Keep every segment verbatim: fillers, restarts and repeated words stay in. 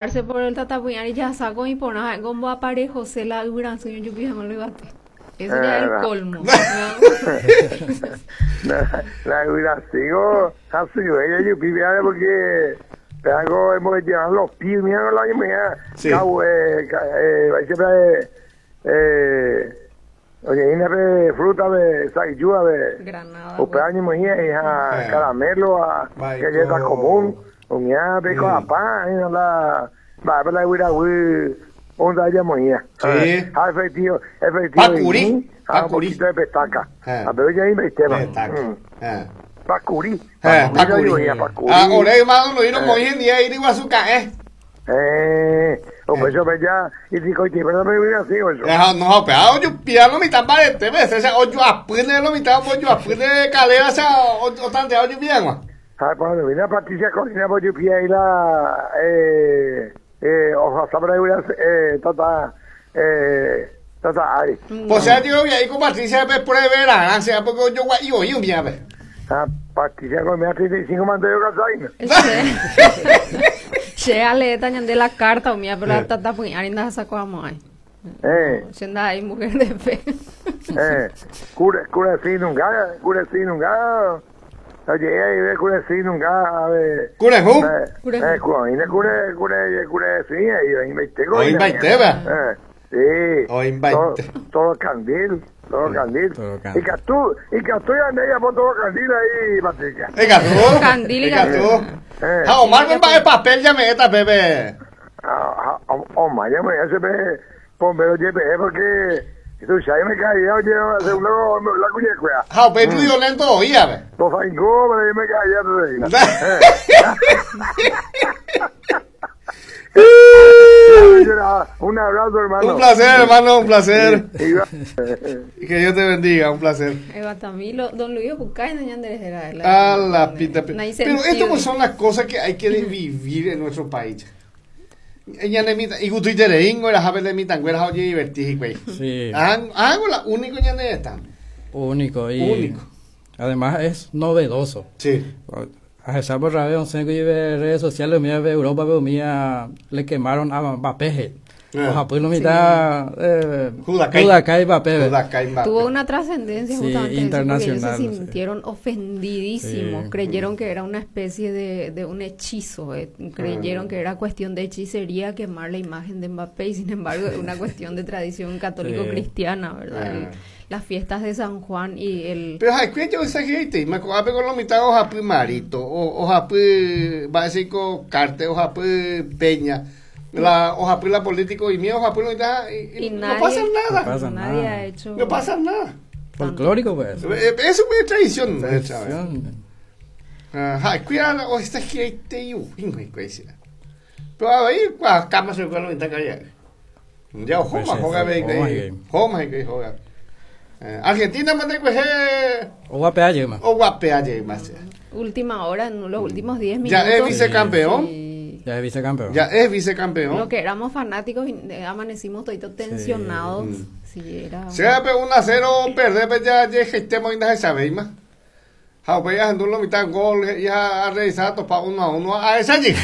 Por el tatapỹi jasaco iporã omboaparejose la yvyrasy ojupi hag̃ua yvate. Eso ya es el colmo. La, la yvyrasýko hasyve jajupi péare porque péako hemos los pies, mira la mira Sí. Cau, eh, ca- eh, eh, eh, oye, pe fruta be saiyúa be Granada. Upe ñemoĩ hija Eh. caramelo a Baiko. galleta común umía pe Mm. coapá la va la guiraguy onda yamoía. Sí. Ah, efectivo, efectivo. Pacurí, Ah, un pacurí. poquito de pestaca. Eh. A pero ya tema. Petaca. Mm. Eh. Pacurí. Eh, Pacurí, pacurí. pacurí. Ah, ore hermano, no no moí en día ir igual su cae. Eh, o pues yo ya y digo, y pero me voy así o eso. Eh, no, pero yo piano mi tan parete, ves, ese o yo apune lo mitad, o yo apune calera, o sea, o o tan de yo bien, ma. Ah, cuando viene Patricia Corina, pues yo pide ahí la eh eh ojo, sabrá eh tata eh tata Ari. Pues sea, yo voy ahí con Patricia pues por ver la ganancia, porque yo guay y un bien, ve. Ah, Patricia Corina treinta y cinco mandó yo casar. Che, aleta ñande la carta umía, pero la tatapỹi arinda saco ahí. Eh, Siendo ahí mujer de fe. eh, cura, cura sin un gato, cura sin un gato. Oye, ahí ve cura sin un gato, a ver. Curejú. Eh, eh, cura, cura, cura, cura, sí, ahí, ahí me tengo. Oí baite, va. Eh, sí. Oí baite. Todo, todo candil, todo candil. Todo candil. Y Castú, y Castú ya anda por todo candil ahí, Patricia. Eh, Castú. Candil y Eh, Castú. Eh. Ah, Omar me va de papel ya me esta bebé. Ah, ah, Omar ya me hace pe, bombero G P E porque tú sabes me caía, oye, según lo la cuñecuea. Ah, pero tú violento oía, ve. Los fangó, pero yo me caía, te digo. Un abrazo, hermano. Un placer, hermano, un placer. Sí, Que Dios te bendiga, un placer. Eva Tamilo, don Luis Bucay, doña Andrés era la A la pita. No hay Pero esto sentido. pues son las cosas que hay que vivir en nuestro país. Ñanemita, y gusto y tereingo, era jabe de mitanguera, oye, divertir, güey. Sí. Hago la único ñane esta. Único. Y Único. Además es novedoso. Sí. A pesar por rabia, once que vive redes sociales, mía de Europa, pero mía le quemaron a Mbappé. Eh. O Japón lo mitad eh, Judacay. Judacay Mbappé. Judacay Mbappé. Tuvo una trascendencia Sí, justamente eso, porque ellos internacional, se sí. sintieron ofendidísimos, Sí. creyeron que era una especie de, de un hechizo, eh, creyeron Mm. que era cuestión de hechicería quemar la imagen de Mbappé y sin embargo es una cuestión de tradición católico-cristiana, ¿verdad? El- Ah. las fiestas de San Juan y el... Pero hay que yo esa gente, me acuerdo con la mitad o japú marito, o o japú básico carte, o japú peña, la o japú la político y mío japú la mitad y, y Y no nadie- pasa nada. No pasa nadie nada. ha hecho... No pasa nada. Folclórico, pues. Eh, Eso es tradición nuestra. Tradición. Ajá, cuidado, o esta gente y un Pero ahí, cua cama se con la mitad calla. Ya Pues joma sí, joga sí, ve, joma, que- joma que joga. Eh, Argentina manda que O guapea, ma. o guapea más. Última hora, en los últimos diez minutos. Ya es vicecampeón. Sí. Ya es vicecampeón. Ya es vicecampeón. Lo que éramos fanáticos, y, eh, amanecimos toditos tensionados. Sí, era... Sea pe uno a cero perder pues ya ya estemos en esa más. Ja, pues ya lo mitad gol ya a revisar topa uno a uno a esa allí.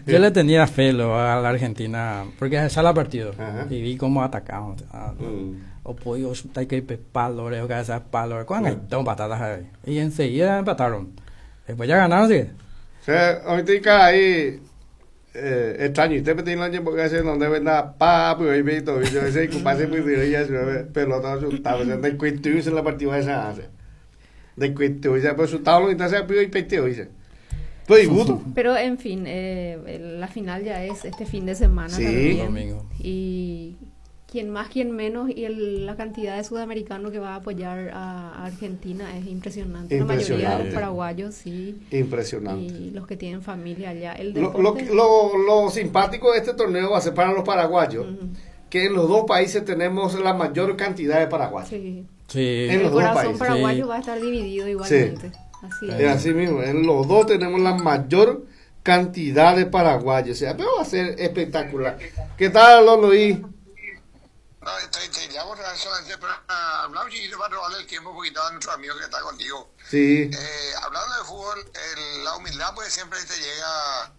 Yo le tenía fe lo, a la Argentina, porque esa la partido. Ajá. Y vi cómo atacaban. O sea, Mm. o pollo, chuta que pe palo, o cabeza palo, ¿cuán hay dos patatas ahí? Y enseguida empataron. Después ya ganaron, sí. O sea, ahorita ahí eh, extraño, usted me tiene la porque hace donde venda papo y ahí todo, y yo ese compadre muy duro ya se ve pelota asustado, o sea, de cuento se la partida esa hace. De cuento, ya pues asustado lo entonces pido y peteo dice. Pues y gusto. Pero en fin, eh, la final ya es este fin de semana Sí. también. Domingo. Y quien más, quien menos, y el- la cantidad de sudamericanos que va a apoyar a, a Argentina es impresionante. La mayoría de los Impresionante. paraguayos, sí. Impresionante. Y los que tienen familia allá. El Lo, lo, deporte- lo, lo simpático de este torneo va a ser para los paraguayos, Ujú. que en los dos países tenemos la mayor cantidad de paraguayos. Sí. Sí. En El los dos corazón países. paraguayo Sí. va a estar dividido igualmente. Así Es es. así mismo, en los dos tenemos la mayor cantidad de paraguayos. O sea, pero va a ser espectacular. ¿Qué tal, don Luis? No, te, te llamo solamente para hablar un chiquito, para robarle el tiempo un poquito a nuestro amigo que está contigo. Sí. Eh, hablando de fútbol, el- la humildad pues siempre te llega